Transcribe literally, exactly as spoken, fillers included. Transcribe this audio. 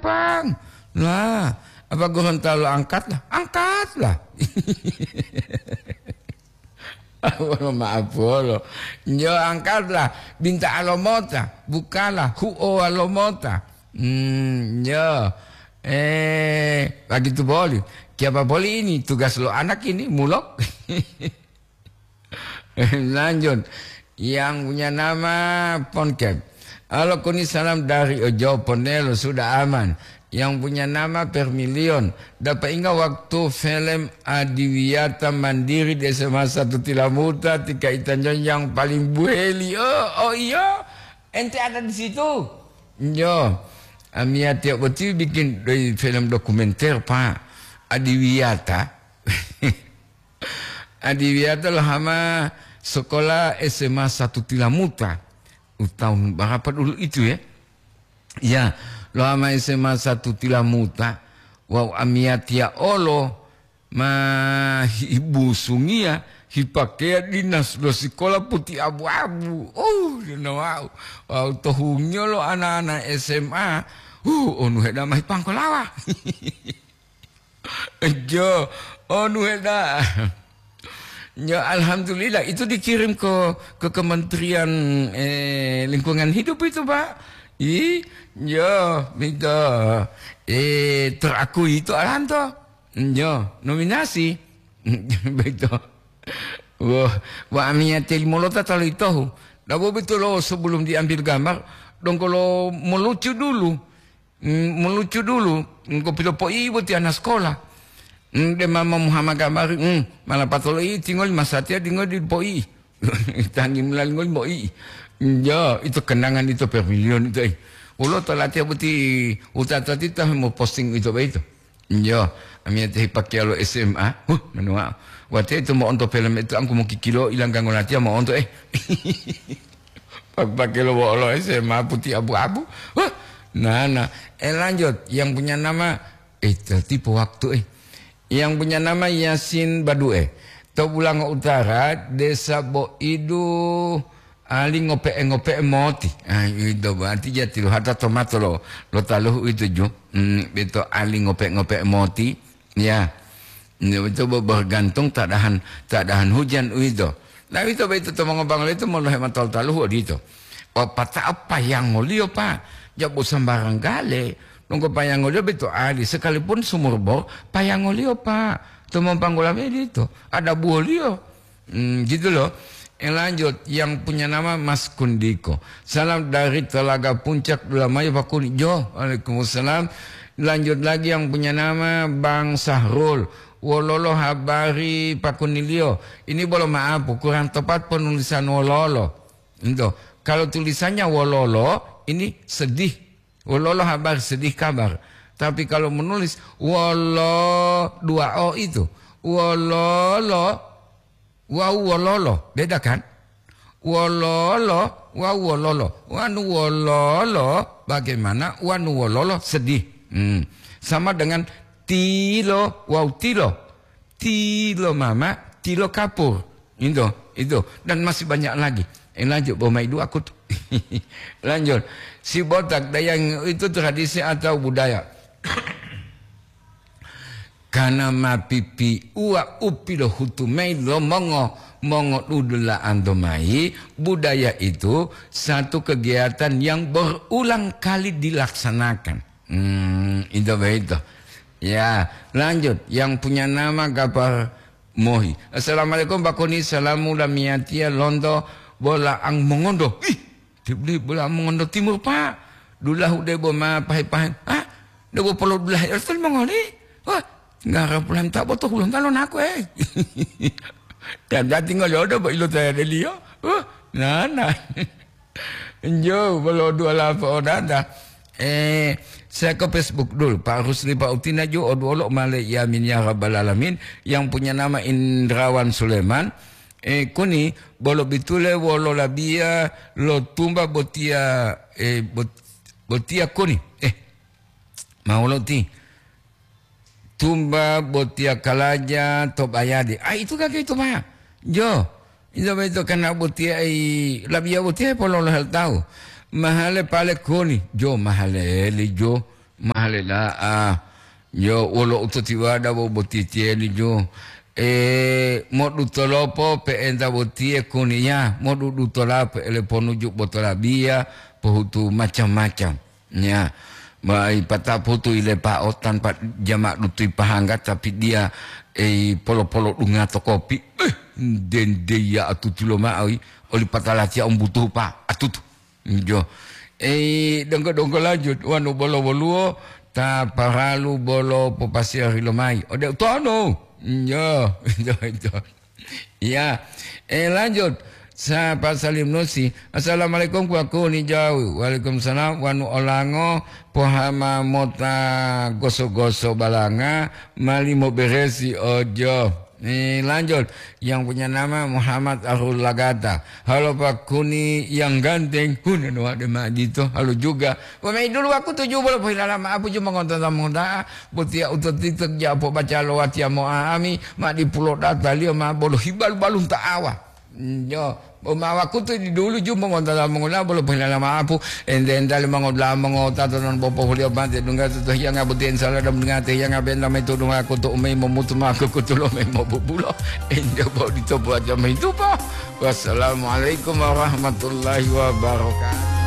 Pang. Lah, apa Gorontalo angkatlah? Angkatlah. Wolo maaf wolo. Nyo angkatlah. Binta alomota. Bukalah. Huo alomota. Hmm, nyo. Eh, begitu boli. Kiapa boli ini tugas lo anak ini, mulok. Lanjut. Yang punya nama Ponkep. Halo, kuni salam dari Ojo Ponelo, sudah aman. Yang punya nama Permilion. Dapat ingat waktu film Adiwiyata Mandiri di S M A satu Tilamuta, tika itanyo yang paling buheli. Oh, oh iya. Ente ada di situ? Yo. Amia tiap boti bikin doi film dokumenter, Pak. Adiwiyata. Adiwiyata lohama sekolah S M A satu Tilamuta. U tahun berapa dulu itu ya? Ya, lohama S M A satu Tilamuta. Wau amia tia olo ma hibusungia hipakeya dinas lo sekolah puti abu-abu. Oh, dina wau. Wau tohungio lo anak-anak S M A. Uh, onu heda mahi pangkolawa. Jo, onu heda. Ya, alhamdulillah, itu dikirim ke, ke Kementerian, eh, Lingkungan Hidup itu, Pak. Ih, ya, minta, eh, terakui itu alanto. Ya, nominasi. Begitu. Wah, wa amia telimolota talo itohu. Dabo betulo sebelum diambil gambar, dongkolo melucu dulu. Mm, melucu dulu, engko pilopo'i boti ana sekolah. Mm, de mama Muhammad Gambari, mm, mala patolo'i tingoli masatiya dingoli dipo'i. Tangi mulali ngoli mo'i. Njo, itu kenangan itu Permilion itu, eh. Ulo to latiya boti utatati ta mo posting itu baito. Njo, amiyate hipakiya lo S M A. Huh, manuwa. Wate itu mo'onto film itu angku mokikilo ilanggango latiya mo'onto, eh. Pake-pake lo wo'olo S M A puti abu-abu. Wah, nana. Eh, lanjut. Yang punya nama, eh, tertipu waktu, eh. Yang punya nama Yasin Badue. To Bulango Utara, Desa Boidu, ali ngope'e-ngope'e moti. Ah, itu berarti jati lo hata tomato lo, lo taluhu itu ju. Hmm, beto ali ngope'e-ngope'e moti. Ya. Ini itu be-, bergantung keadaan, keadaan hujan uwito. Nah, uwito boyito to mongobangulo itu molohe matol-taluhu odito. Pata'o payangoliyo, Pak. Jabo sambarang gale. Nunggu payangoliyo boyito ali. Sekalipun sumur bor, payangoliyo, Pak. To mopanggula boyito. Ada buwoliyo. Hmm, gitu loh. Eh, lanjut, yang punya nama Mas Kundiko. Salam dari Telaga Puncak, Dulamayo, Pakuni. Jo, waalaikumsalam. Lanjut lagi yang punya nama Bang Sahrul. Wololo habari Pakuniliyo? Ini bolo maaf, kurang tepat penulisan wololo. Itu. Kalau tulisannya wololo, ini sedih. Wololo habari, sedih kabar. Tapi kalau menulis wolo, dua O itu. Wololo, Wawu wololo, beda kan? Wololo wawu wololo. Wanu wololo, bagaimana wanu wololo sedih. Hmm. Sama dengan tilo wawu tilo. Tilo mama, tilo kapur. Itu, itu. Dan masih banyak lagi. Eh, lanjut, bawa mai dua aku tuh. Lanjut. Si botak dayang itu tradisi atau budaya? Kana mapipiuwa u pilohutu mayi lo mongo, mongodudula'anto mayi, budaya itu satu kegiatan yang berulang kali dilaksanakan. Hmm, itu begitu. Ya, lanjut. Yang punya nama Gapar Mohi. Assalamualaikum, Pak Koni. Salamu lamiyatiya lonto bola'ang mongondo. Ih, Debli bola mongondo timur, Pak. Dulahu debo ma pahe-pahe. Ah, debo polo dulahe ertol mongoli. Wah, ngara pulan ta boto hulon talon aku, eh. Dan dati ngolodo bo ilo taya deliyo. Wah, nana. Enjo, bolo dua lapo odada. Eh, saya ke Facebook dulu. Pak Rusli, Pak Utina ju oduolo male yamin ya rabbal alamin. Yang punya nama Indrawan Suleman. Eh, kuni, bolo bitule wolo labiya lo tumba botiya, eh, bot-, botiya kuni. Eh, ma wolo ti? Tumba botiya kalaja to bayade. Ah, itu kake itu ma. Jo, itu beto kana botiya ai labiya botiya pololo hal tahu. Mahale pale kuni. Jo, mahale eli jo. Mahale da'a. Yo, wolo utotiwada bo botitiyeli jo. E, modutolopo pe'enta botiye kuniya, modudutola pe'ele ponuju botolabiya, pohutu macam-macam. Ya, mai pataputu ilepa'o tanpa jama dutui pahangga, tapi dia, e, polo-polo dunga to kopi. Eh, dendeya atutu loma'o, oli patalatiya umbutuhu pa atutu. Jo. Eh, donggo-donggo lanjut, wanu bolo woluwo, ta paralu bolo popasiyari lomai. Ode utono. Jo, jo, jo. Iya. Eh, lanjut. Sapa Salim Nusi. Assalamualaikum, kuwaku ni jauh. Waalaikumsalam. Wanu olango, pohama mota goso-goso balanga, mali moberesi ojo. Eh, lanjut. Yang punya nama Muhammad Arul Lagata. Halo Pak Kuni yang ganteng. Huna no ade majito. Halo juga. Wamai dulu aku tuju bolo pohilala ma apu ju mongonto mongoda'a. Botiya utotito japo baca lo watiya mo'a'ami, ma dipulo data liyo ma bolo hibalu-balun ta'awa. Njo, bo ma wakutu di dulu ju mongonto mongoda'a bolo pohilala ma apu. Ente-ente le mongoda'a mongota to non bopo huliyo mate dungga to hiyanga botiya insala dam dungga te hiyanga benta mai to dungga kutu umai momutu ma kutu lo mai mobubulo. Ente bo dito buat jamai tupa. Wassalamualaikum warahmatullahi wabarakatuh.